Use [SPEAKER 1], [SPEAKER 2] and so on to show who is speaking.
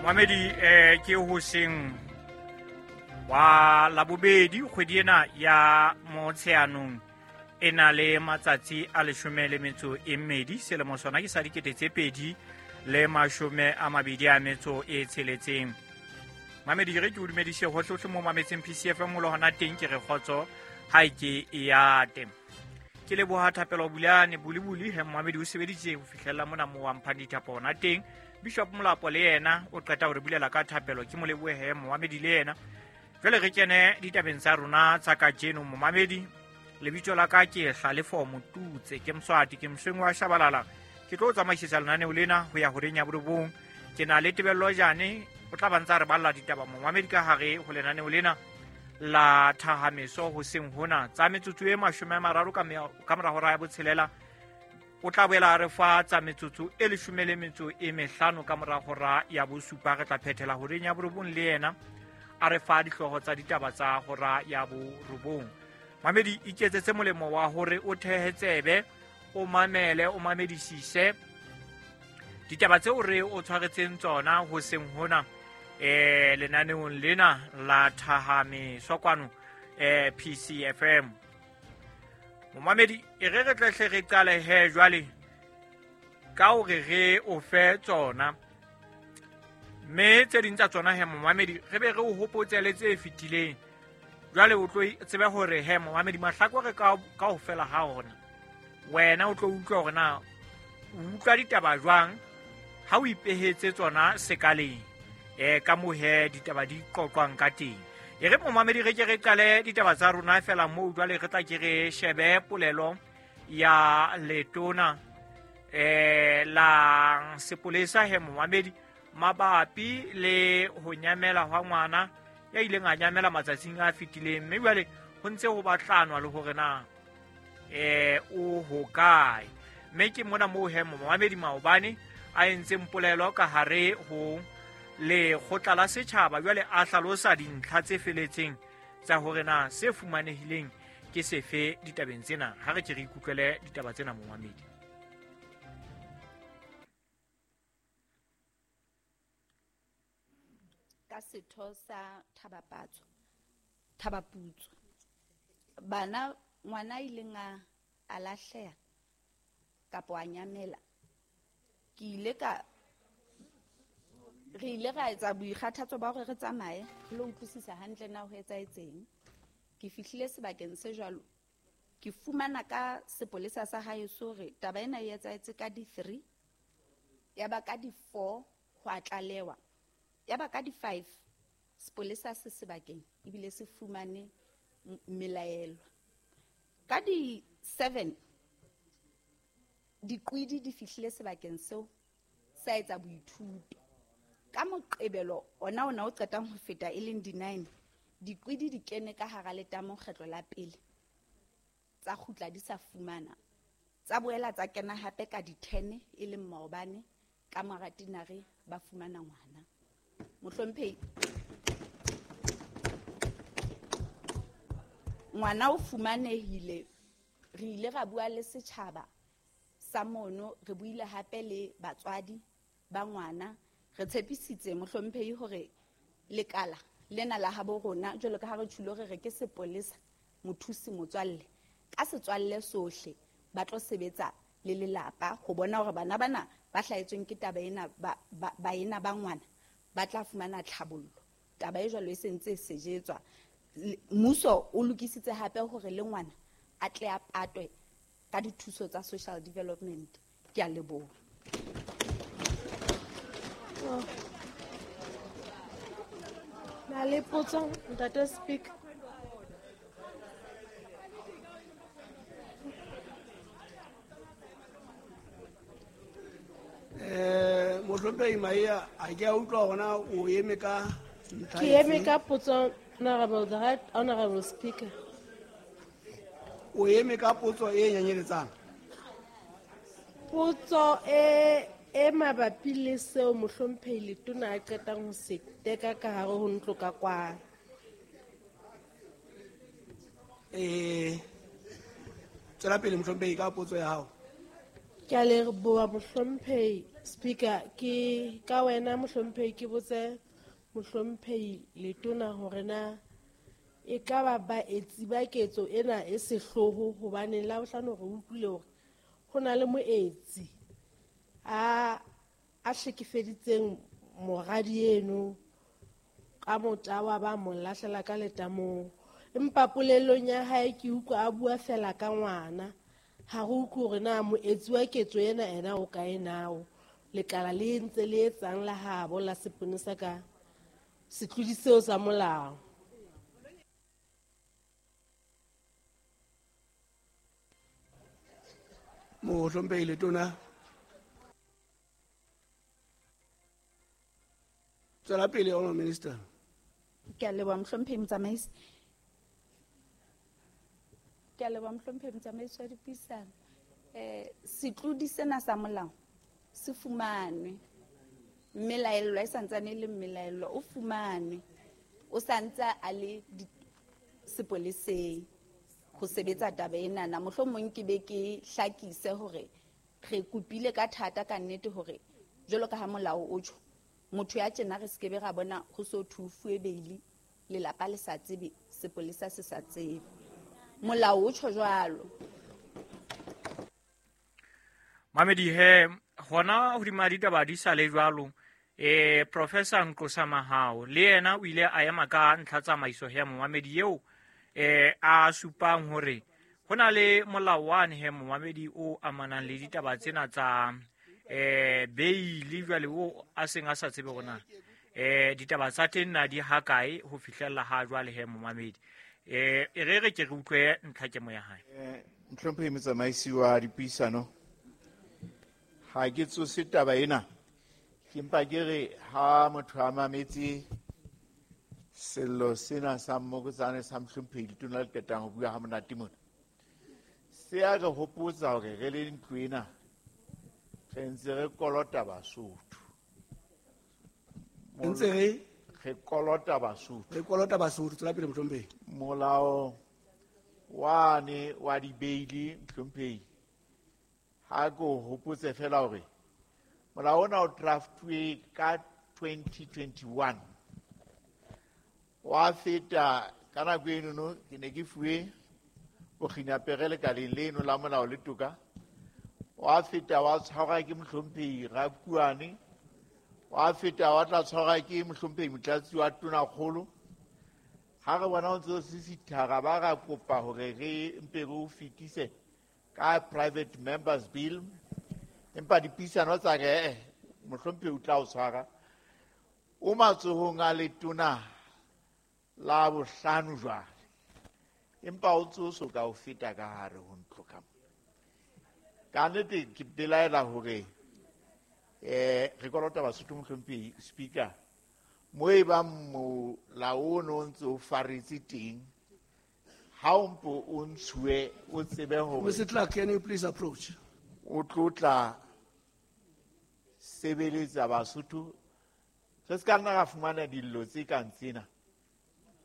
[SPEAKER 1] Mohamedi ke hoseng wa Labobedi, kgwedi ena ya Motsheanong e na le matsatsi a 12, selemo sona ke sa 2026. Mamedi, re ke o dumedise hohlehohle mo mametseng PCFM le hona teng, ke re kgotso ha e ke e ate. Ke leboha Thapelo Bulane Bulibuli he Mohamedi o sebeditse ho fihlella mona mo wa mphang dithapo hona teng. Bishop Molapo le yena o qeta ho re bulela ka thapelo, ke mo lebohe he Mohamedi le yena. Jwale re kene ditabeng tsa rona tsa kajeno. Momamedi, lebitso la ka ke Hlalefo Motutse, ke Mswati, ke Mosweng wa Shabalala. Ke tlo tsamaisetsa lenaneo lena ho ya horeng ya 9. Ke na le Tebello Jane, o tla ba ntsa re balla ditaba momamedi ka hare ho lenaneo lena la Thahameso hoseng hona tsa metsotso e 30 ka mora hora ya 6. O tla boela re fa tsa metsotso e 15 ka mora hora ya 7. Re tla phethela horeng ya 9 le yena a re fa dihlooho tsa ditaba tsa hora ya 9. Mamedi, iketsetse molemo wa hore o thehe tsebe, o mamele, o mamedisise ditaba tseo re o tshwaretseng tsona hoseng hona lenaneong lena la Thahameso kwano PCFM. Momamedi, e re re tlehle re qale he jwale ka hore re o fe tsona, mme tse ding tsa tsona he momamedi re be re o hopotse le tse fetileng. Jwale o tlo tsebe hore he momamedi mahlakore ka ho fela ha ona, wena o tlo utlwa hore na o utlwa ditaba jwang ha o ipehetse tsona sekaleng ka moo he ditaba di qoqwang ka teng. E re momamedi re ke re qale ditaba tsa rona fela moo jwale re tla ke re shebe polelo ya letona la sepolesa he momamedi mabapi le ho nyamela hwa ngwana ya ileng a nyamela matsatsing a fetileng, mme jwale ho ntse ho batlanwa le hore na o hokae. Mme ke mona moo he momamedi maobane a entseng polelo ka hare ho lekgotla la setjhaba, jwale a hlalosa dintlha tse feletseng tsa hore na se fumanehileng ke sefe ditabeng tsena. Ha re ke re ikutlwele ditaba tsena momamedi.
[SPEAKER 2] Ka setho sa Thabapatso, Thabaputso, bana ngwana ileng a lahleha kapa a nyamela, ke ile ka re ile ra etsa boikgathatso ba hore re tsamaye re lo utlwisisa hantle na ho etsahetseng. Ke fihlile sebakeng se jwalo, ke fumana ka sepolesa sa haeso hore taba ena e etsahetse ka di-3, ya ba ka di-4 ho a tlalewa, ya ba ka di-5 sepolesa se sebakeng ebile se fumane melaelwa. Ka di-7 diqwidi di fihlile sebakeng seo sa etsa boithuto. Ka Moqebelo ona o qetang ho feta e leng di-9, diqwidi di kene ka hara letamo kgetlo la pele, tsa kgutla di sa fumana, tsa boela tsa kena hape ka di-10 e leng maobane ka mora tinare ba fumana ngwana. Mohlomphehi, ngwana o fumanehile. Re ile ra bua le setjhaba sa mono, re buile hape le batswadi ba ngwana. Re tshepisitse mohlomphehi hore lekala lena la habo rona, jwalo ka ha re tjhulo re re ke sepolesa mothusi motswalle, ka setswalle sohle ba tlo sebetsa le lelapa ho bona hore bana bana ba hlahetsweng ke taba ena baena ba ngwana ba tla fumana tlhabollo. Taba e jwalo e sentse e sejetswa. Mmuso o lokisitse hape hore le ngwana a tle a patwe ka dithuso tsa social development. Ke a leboha.
[SPEAKER 3] Na le potso, Ntate Speaker?
[SPEAKER 4] Mohlomphehi Maia, a ke a utlwa hona o eme ka ntlha
[SPEAKER 3] Ke eme
[SPEAKER 4] efe?
[SPEAKER 3] ka potso, Honorable, the right Honorable Speaker.
[SPEAKER 4] O eme ka potso e nyenyeletsang?
[SPEAKER 3] Potso e mabapi le seo mohlomphehi Letona a qetang ho se teka ka hare ho ntlo ka kwano.
[SPEAKER 4] Tswela pele mohlomphehi ka potso ya hao.
[SPEAKER 3] Ke a leboha mohlomphehi. Speaker, ke ka wena mohlomphehi ke botse mohlomphehi letona hore na e ka ba baetsi ba ketso ena e sehloho, hobane la bohlano re utlwile hore ho na le moetsi a hlekefeditseng moradi eno ka motawa ba mo lahlela ka letamong. Empa polelong ya hae ke utlwa a bua fela ka ngwana, ha re utlwe hore na moetsi wa ketso ena ena o kae nao. Lekala le ntse le etsang la habo la seponesa ka setlodi seo sa molao.
[SPEAKER 4] Mohlomphehi letona, tswela pele, Honourable Minister.
[SPEAKER 2] Ke a leboha mohlomphehi motsamaisi. Ke a leboha mohlomphehi motsamaisi wa dipuisano. Setlodi sena sa molao se fumanwe, mmelaellwa e santsane e le mmelaellwa o fumanwe, o santse a le sepoleseng ho sebetsa taba enana. Mohlomong ke be ke hlakise hore re kopile ka thata ka nnete hore jwalo ka ha molao o tjho, motho ya tjena re sekebe ra bona ho so thufuwe beili, lelapa le sa tsebe, sepolesa se sa tsebe. Molao o tjho jwalo.
[SPEAKER 1] Mamedi he, hona hodima ditaba di sa le jwalo, Professor Nqosa Mahao le yena o ile a ema ka ntlha tsamaiso ya momamedi eo a supang hore ho na le molao wane he momamedi o amanang le ditaba tsena tsa beili, jwale o a seng a sa tsebe hore na ditaba tsa teng na di hakae ho fihlella ha jwale he momamedi. E re ke re utlwe ntlha kemo ya hae.
[SPEAKER 5] Mohlomphehi motsamaisi wa dipuisano, ha ke tsose taba ena, ke mpa ke re ha motho a mametse sello sena sa mmokotsane sa mohlomphehi letona le qetang ho bua ha monate mona, se a re hopotsa hore re le ntlo ena re ntse re kolota Basotho.
[SPEAKER 4] Ntse
[SPEAKER 5] re kolota Basotho.
[SPEAKER 4] Re kolota Basotho, tswela pele mohlomphehi.
[SPEAKER 5] Molao wane wa dibeili mohlomphehi, ha ke o hopotse fela hore molao ona o draftuwe ka 2021, wa feta ka nako enono ke ne ke fuwe bokginapere lekaleng leno la molao le toka, wa feta wa tshwarwa ke mohlomphehi Rakuane, wa feta wa tla tshwarwa ke mohlomphehi Motlatsi wa Tonakgolo. Ha re bona o ntse o sisithara, ba ra kopa hore re mpe re o fetise ka private members bill, empa dipuisano tsa re mohlomphehi o tla o tshwara o matsohong a letona la bohlano jwale, empa o tsoso ka o feta ka hare ho ntlo ka mona. Ka nnete ke belaela hore re kolota Basotho mohlomphehi Speaker, mo e bang molao ono o ntse o faretse teng, ha o mpo o ntshuwe o tsebe hore
[SPEAKER 4] Mr. Clark, can you please approach?
[SPEAKER 5] O tlo tla sebeletsa Basotho. Re se ka nna ra fumana dillo tse kang tsena.